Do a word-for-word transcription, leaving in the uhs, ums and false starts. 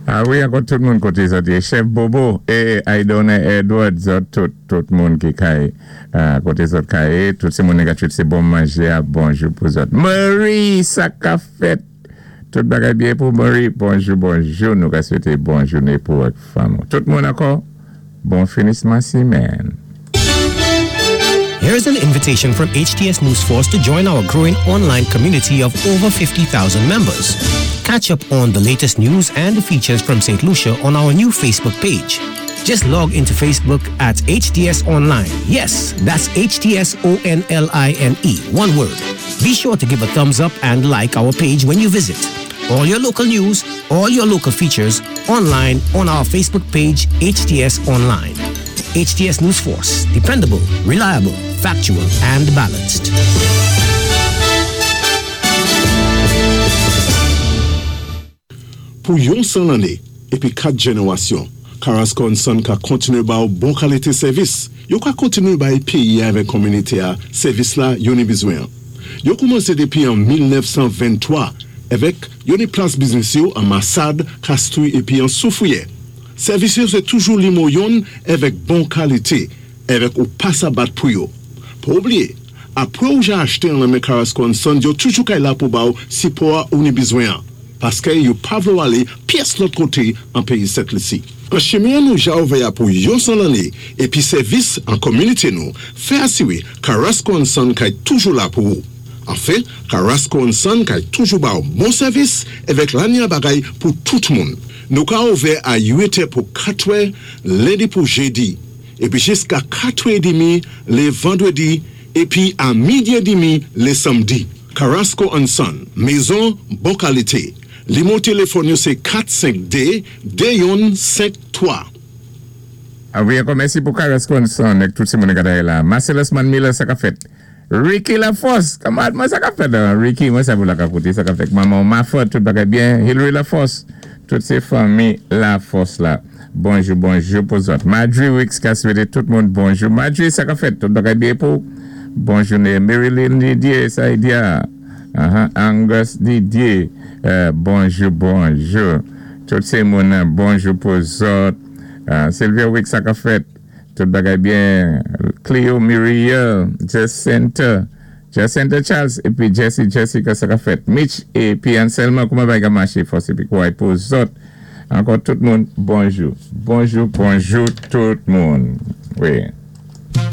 A wi, ankò tout moun koté zòt yé. Chef Bobo é Aidone Edward, zòt tout, tout moun ki kay, euh, koté zòt kay, tout sé moun négatif, sé bon manjé a bonjou pou zòt. Marie, sa ka fèt. Tout bagay byen pou Marie. Bonjou, bonjou. Nou ka swété bon jouné pou ak fanm. Tout moun ankò, bon finisman simenn. Here's an invitation from H T S News Force to join our growing online community of over fifty thousand members. Catch up on the latest news and features from Saint Lucia on our new Facebook page. Just log into Facebook at H T S Online. Yes, that's H T S O N L I N E, one word. Be sure to give a thumbs up and like our page when you visit. All your local news, all your local features online on our Facebook page, H T S Online. H T S News Force, dependable, reliable, factual, and balanced. Pou yon san lanné épi kat jénéwasyon, Carrasco and Son ka kontiné ba ou bon kalité sèvis. Yo ka kontiné bay péyi avèk kominité a sèvis la yo ni bizwen. Yo koumansé dépi an mil nèf san venntwa avèk yo ni plas biznis yo an Massade, Castries épi an Soufrière. Sèvis yo sé toujou nimewo youn avèk bon kalité, avèk ou pa sa bat pou yo. Pa oubliyé, apwé ou ja achté an nan men Carrasco and Son, yo toujou kay la pou ba ou sipò a ou ni bizwen an. Paské yo pa vlé ou alé pyès lòt koté an péyi Sent Lisi. An chimen nou ja ouvè pou yon san lanné épi sèvis an kominité nou, fè asiwé Carrasco and Son kay toujou la pou ou. Anfen, Carrasco and Son kay toujou ba ou bon sèvis avèk lanya bagay pou tout moun. Nou ka ouvè a uit è pou katwè, lendi pou jédi, épi jiska katwè édmi lé vandwédi, épi a midi édmi lé sanmdi. Carrasco and Son, mézon bon kalité. Nimewo téléfòn yo sé kat senk dé de youn senk twa. A wi, ankò mèsi pou Carrasco and Son, ak tout sé moun ki la. Marcellus Man Miller, sa ka fèt. Ricky Laforce, kamarad mwen, sa ka fèt, hein? Ricky, mwen sa vou la ka koté, sa ka fèt. Maman Mafort, tout bagay byen. Hillary Laforce, tout sé fanmi Laforce la. Bonjou, bonjou pou zòt. Marjorie Wicks ka swété tout moun bonjou. Marjorie, sa ka fèt, tout bagay byen pou. Bon jouné. Marilyn Didier, sa y dia. Uh-huh. Angus Didier, euh, bonjou, bonjou. Tout sé moun, bonjou pou zòt. Uh, Sylvia Wicks, sa ka fèt. Tout bagay byen. Cleo Muriel, Jacinta, Jacinta Charles, épi Jesse Jessica, sa ka fèt. Mitch épi Anselma, kouman bagay maché fòs épi kwa pou zòt. Ankò tout moun, bonjou. Bonjou, bonjou tout moun. Wi.